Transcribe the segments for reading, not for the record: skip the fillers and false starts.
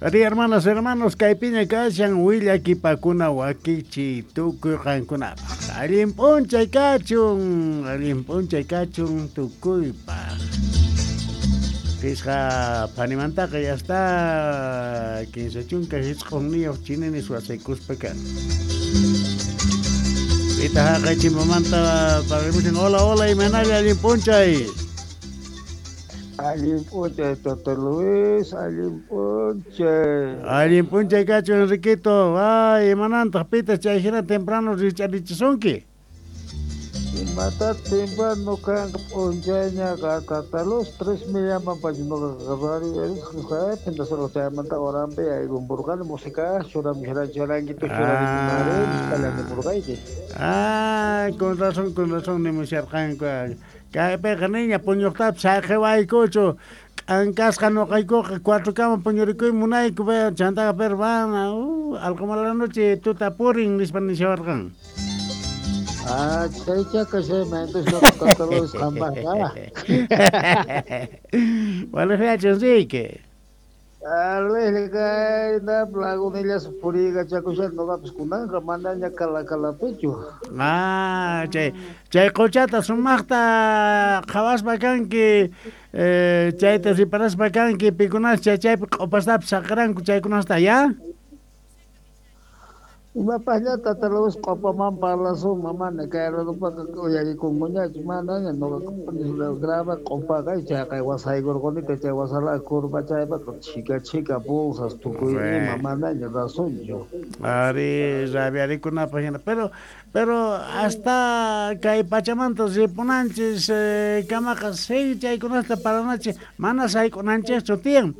Ari, hermanas, hermanos, kaypiña kashan willakipakuna wakichi tukuy qankunapaq. Allin p'unchay kachun, allin p'unchay kachun tukuypaq. Pisqa phanimantaqa ya está 59 chininis wasaykuspa kan. Pita haqay chimpamanta pararimushan. Hola, hola, imaynalla allin p'unchay. Allin p'unchay, Tata Luis, allin p'unchay. Allin p'unchay kachu, Enriquito. Ay, imanantaq pita chay hina temprano richarichisunki? Imata temprano kanqa p'unchayñaqa, Tata Luis, 3 millaman pacha noqaqa chaymanta horanpi aykumburqani música churamusharankitu churarikunari. Ah, con razón nimusharqanku. Kaypiqa niña puñuqtapis saqewaykuchu. K'ankasqa noqaykuqa 4 kama puñurikuy munayku, chantaqa pero van algo mala noche tuta purin nispa nishawarqan. Ah, chaycha kashayman, entonces Tata Luis qanpaqqa. Waliqllachu, Enrique. Arregla lagunillas puriykachakushan noqapis kunanqa manaña kalakalapichu. Ah, chay qochata sumaqta qhawaspa kanki, chayta riparaspa kanki, pikunas chay chaypi q'opastapis saqranku chaykunasta, ya? Imapaqña Tata Luis q'opaman parlasun, mamana kay radupaqa uyarikunkuñachu, manaña noqaqa graba q'opaqa chayqa wasaykurqunita chay wasala curva chaypaqa chhika chhika bolsas tukuy ima manaña razonchu. Ari, rabiarikunapaq hina, pero hasta kay pachamanta ripunanchis kamaqa sí chaykunasta paranachis mana sayk'unanchikchu tiyan.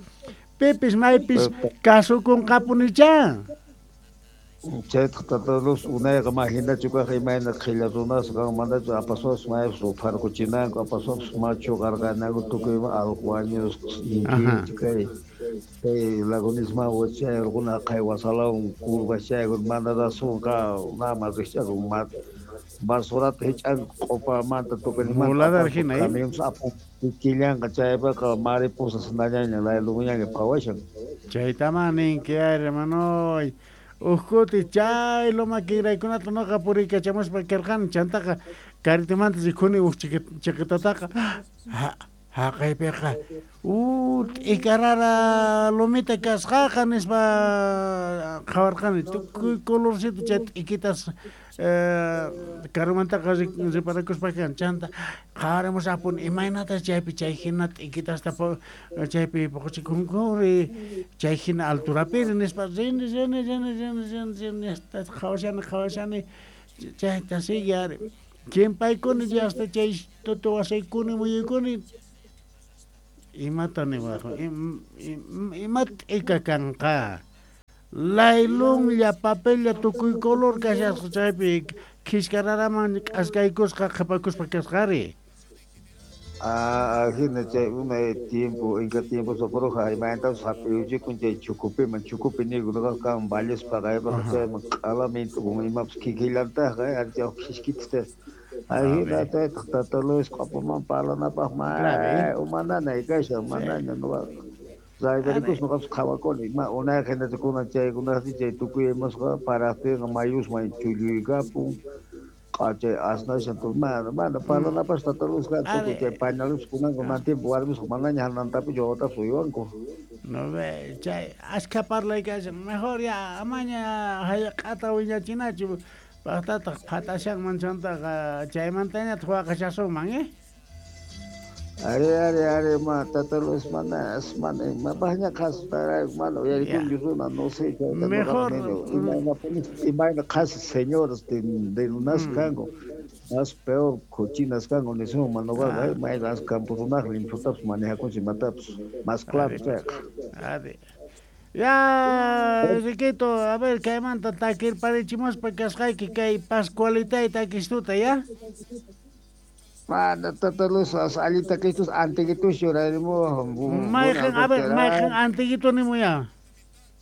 Pipis maypis kasukunqapunichá. Chaytaq Tata Luis unayqa mahinachu kaq imayna qhilla runasqa manachu apasuapas maypis rupharquchinanku apasuapas machu qarqananku tukuy ima allqu wañusqa inkichu kay kay lagunisman chayarquna qhay wasalawan curva chaykun mana razonqa nama rikch'akun basurata hich'anku q'opamanta tukuynimanta Voladar hina, camionpas apun kikillanqa chaypaqa mariposas nañaña layluñaña phawashan. Chaytaman ninki, hermano. Uqkuti chay loma kinraykunata noqa puriykachamuspa karqani chantaqa karitimanta rikhuni uj chiqitataqa haqaypiqa t'ikarara lumita kasqaqa nispa qhawarqani tukuy colorcito chay t'ikitas karumantaqa riparakuspa kan chanta qhawarimusapuni imaynata chaypi chay hina t'ikitasta chaypi puquchikunkuri chay hina alturapiri nispa rini rini rini rini rini rini hasta qhawashani chayta sigue ari chimpaykuni hasta chay tutu wasaykuni muyuykuni imata niwaq ima t'ika kanqa laylunlla papella tukuy color kashasqa chaypi khishkararaman k'askaykusqa qhipakuspa kasqari. Ah, hina chay unay tiempo inka tiempo socorroja imaynatapas hap'iyuchikun chay chukupiman chukupi niyku noqaqa kan vallaspa qaypaqa chayman q'alamintu imapas kikillantaqqa chay khishkitasta. Ahina chaytaq Tata Luis q'opaman parlanapaq may umananay kashan manaña noqaqa. Raybarikus noqapas qhawakuni ma unayqa hinachu kunan chaykunaqti chay tukuy imasqa paraqtinqa mayusman chulluykapun chay asnashan mana mana parlanapaq Tata Luis tukuy chay pañalupas kunanqa mana tiempo warmisqa manaña hanantapichu wawatapas uywanku. No ve, chay ashka parlay kashan mejor ya amaña hallq'ata wiñachinachu paqtataq phatashanman chantaqa chaymantañataq waqashasunman, eh? Ari, ari, ari, ma, Tata Luis, mana, mana, mapaqña qhasparayku, mana uyarikunchu runa, no sé, mejor imayna qhasi señoras de lunas kanku, más peor cochinas kanku nisunman noqaqa, mayqa as campo runaq limpiotapis manejakunchik imatapas, más claro chayqa. Ari. Ya, Enriquito, a ver, kaymanta takirparichimuspa kasqayki kay Pascualitay takistuta, ya? Mana Tata Luis, allin takitus antiguitus churarimu. Mayqin, a ver, mayqin antiguito nimuya.